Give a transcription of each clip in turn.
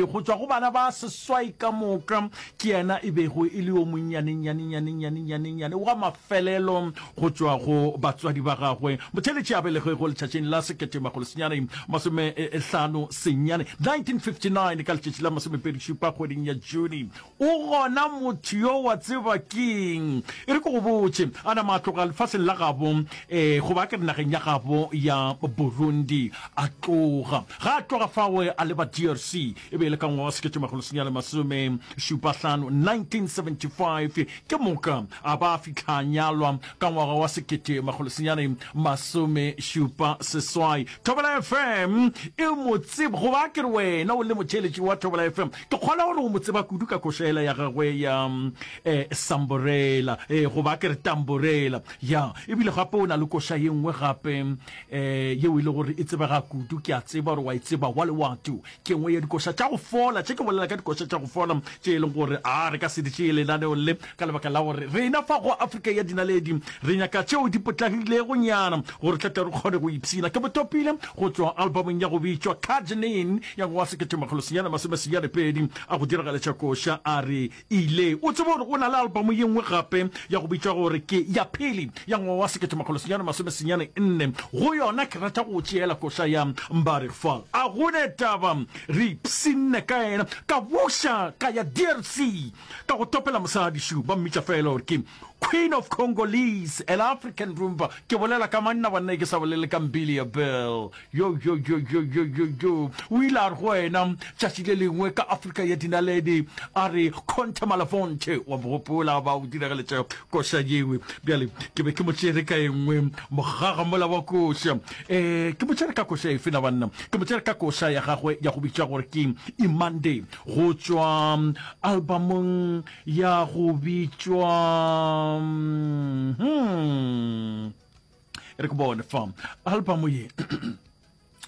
Go tšwa go bana ba seswai ka moka, ke yena e bego e le yo monnyanennyanennyanennyanennyane wa mafelelo go tšwa go batswadi ba gagwe. Motheeletši a belegwego letšatšing la 1959, 1959, ka letšatši la masomepedishupa kgweding ya June. O gona motho yo wa tseba keng? E re ke go botše, a nama a tloga lefaseng la gabo, ee, goba a ke re nageng ya gabo ya Burundi, a tloga. Ga a tloga fao a leba DRC, e be e le ka ngwaga wa 1975, 1975, ke moka a ba a fihla a nyalwa ka ngwaga wa 1978. Thobela FM e mo tseba, goba a ke re wena o le motheeletši wa Thobela FM, Ke kgolwa gore o mo tseba kudu ka koša yela ya gagwe ya eh, Samborela, eh, goba ke re Tamborela. Ya, ebile gape o na le koša ye nngwe gape eh, yeo e le gore e tsebega kudu, ke a tseba gore wa e tseba, Wa Lewatu. Ke nngwe ya dikoša tša go fola, tše ke bolela ka dikoša tša go fola tše e leng gore a re ka se di tšee lenaneong le ka lebaka la gore rena fa go Afrika ya Dinaledi re nyaka tšeo di potlagilego nyana gore tle tle re kgone go ipshina. Ke mo topile go tšwa albumong ya go bitšwa Kajnin ya ngwaga wa 1992 a go diragaletša koša a re ile. O tsebe gore o na le album ye nngwe gape ya go bitšwa gore ke Ya Pele ya ngwaga wa 1994. Go yona ke rata go tšeela koša ya Mbare Fall. A go ne taba re ipshinne ka yena. Ka buša ka ya DRC ka go topela mosadi šu ba mmitša fela gore ke Queen of Congolese and African Rumba. Ke bolela ka manna banna ke sa bolele ka Mbilia Bell. Yo yo yo yo yo yo yo. O ile a re go wena tšatši le lengwe ka Afrika ya dinaledi a re Conte Malafonte wa mo gopola ba o diragaletša koša yewe. Bjale ke be ke mo tšere ka e nngwe mogaga mola wa koša. Eh ke mo tšere ka koša efe na banna? Ke mo tšere ka koša ya gagwe ya go bitšwa gore ke Imande go tšwa albumong ya go bitšwa hmm, re ke bone fa album ye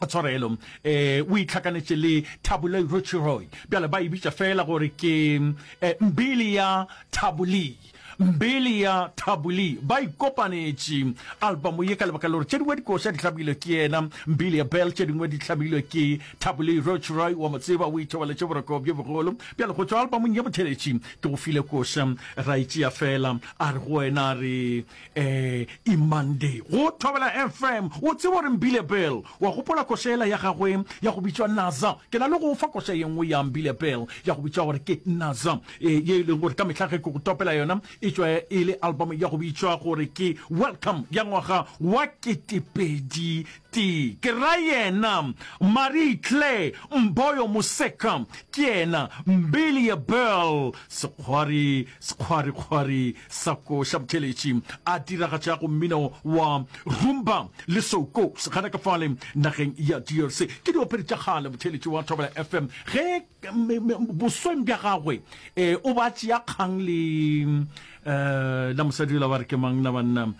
tshwarelo eh o itlhakanetše le Thabulei Rochiroy bjale ba e bitša fela gore ke eh, mbili ya Thabulei mbili ya Thabulei ba ikopanetše album ye ka lebaka la gore tše dingwe dikoša di hlamilwe ke yena mbili ya Bell tše dingwe di hlamilwe ke Thabulei Rochiroy wa mo tseba o ithobaletše boroko bjo bogolo Bjale go tšwa albumong ye Motheletši ke go file koša, ra e tšea fela, a re go wena a re eh Imande go Thobela FM, o tseba gore Mbile Bill, wa gopola koša yela ya gagwe ya go bitšwa Naza? Ke na le go o fa koša ye nngwe ya Mbile Bill ya go bitšwa gore ke Naza, eh, ye e leng gore ka mehla ge ke go topela yona e tšwa e le album ya go bitšwa gore ke Welcome ya ngwaga wa ketepedi Tee. Ke ra yena Marie Claire Mboyo Moseka, ke yena Mbilie Bell, sekgwari, sekgwarikgwari sa koša motheeletši, a diragatšago mmino wa rumba le soukous gana ka fale nageng ya DRC. Ke diopedi tša kgale motheeletši wa Thobela FM. Ge bosweng bja gagwe um o ba tšea kgang le um la mosadi yola ba re ke mang na banna um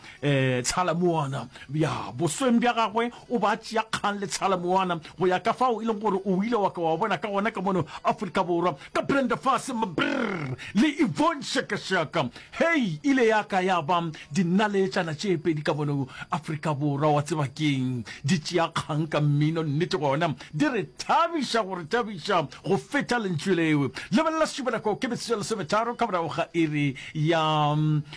tshalamoana ya bosweng bja gagwe o ba tšea kgang le tshalamoana go ya ka fao e leng gore o ile wa ka wa bona ka gona ka mono Afrika Borwa ka Brenda Fassie Mbrr le Yvonne Chaka Chaka hei ile ya ka ya ba dinaletšana tše pedi ka mono Afrika Borwa wa tseba keng di tšea kgang ka mmino nnete gona Di re thabiša go re thabiša go feta lentšu leo. Lebelela sešupanako ke metsotso ya lesometharo ka morago ga iri ya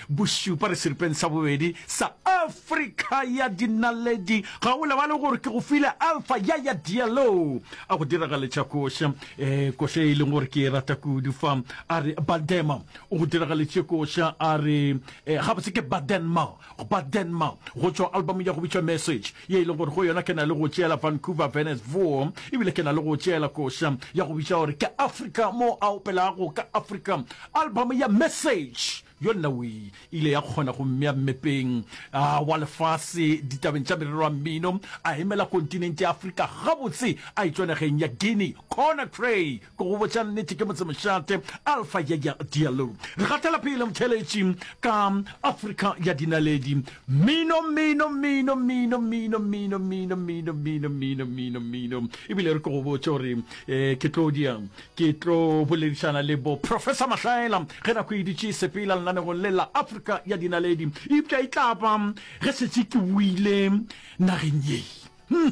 bošupa re seripeng sa bobedi sa Afrika ya dinaledi. Ga o lebale gore ke go file Alpha ya ya Diallo a go diragaletša koša, eh, koša e leng gore ke e rata kudu fa. A re Badema o go diragaletše koša a re eh, gabotse ke Badenma Badenma go tšwa album ya go bitšwa Message ye e leng gore go yona ke na le go tšeela Vancouver Venice Voor ebile ke na le go tšeela koša ya go bitša gore ke Africa mo a opelago ka Africa. Album ya Message yona o ile ya kgona go mmea mmepeng wa lefase ditabeng tša merero ya mmino, a emela kontinente ya Afrika gabotse a etšwa nageng ya Guinea Conakry. Ke go botša nnete ke motsemošate Alpha Yaya Diallo. Re gatela pele motheeletši ka Afrika ya dinaledi. Mmino, mmino, mmino, mmino, mmino, mmino, mmino, mmino, mmino, mmino, mmino, mmino. Ebile re ke go botše gore eh, ke tlo dia ke tlo boledišana le bo Professor Mahlaela ge nako e dutše e sepela lenanegong le la Afrika ya dinaledi. Eupša e tla ba ge šetše ke boile nageng ye. Hmm.